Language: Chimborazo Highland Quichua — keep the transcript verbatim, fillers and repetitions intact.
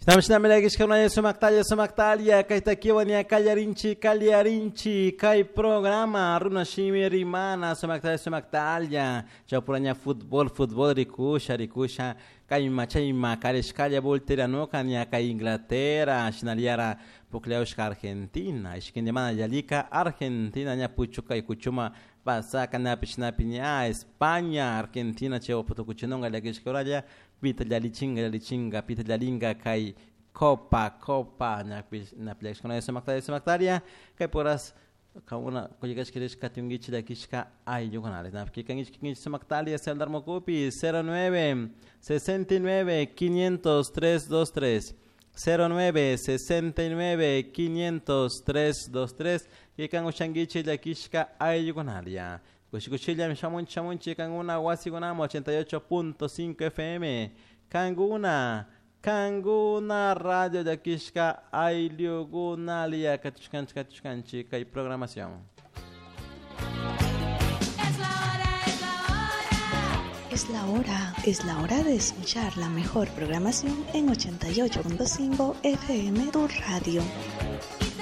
Namshinami sumaktalla sumaktalla kay takiwan ña kallarinchi kallarinchi kay programa runa shimi rimana sumaktalla sumaktalla chawpuraña fútbol fútbol rikusha rikusha kayma chayma karishkalla volteranuka ña kay Inglaterra shinallara pukllayushka Argentina ishkindimana yallika Argentina ña puchuka kuchuma pasaka ñapish napi ña España Argentina chay tukuchinunga llakishka pita llallichinga llallichinga pita llalinga kay copa copa ñapish napi sumaktalla sumaktalla kay poras kauna kullkashka katunkichik llakishka ayllukunalla napi kikankichik sumaktalla celular mukupi cero nueve sesenta y nueve quinientos tres dos tres cero nueve sesenta y nueve quinientos tres dos tres kikan ushankichik llakishka ayllukunalla kushikushilla shamunchi shamunchi kankuna wasikunaman ochenta y ocho punto cinco F M kankuna kankuna radio llakishka ayllukunalla katushkanchik katushkanchik kay programación. Es la hora, es la hora de escuchar la mejor programación en ochenta y ocho punto cinco F M tu radio.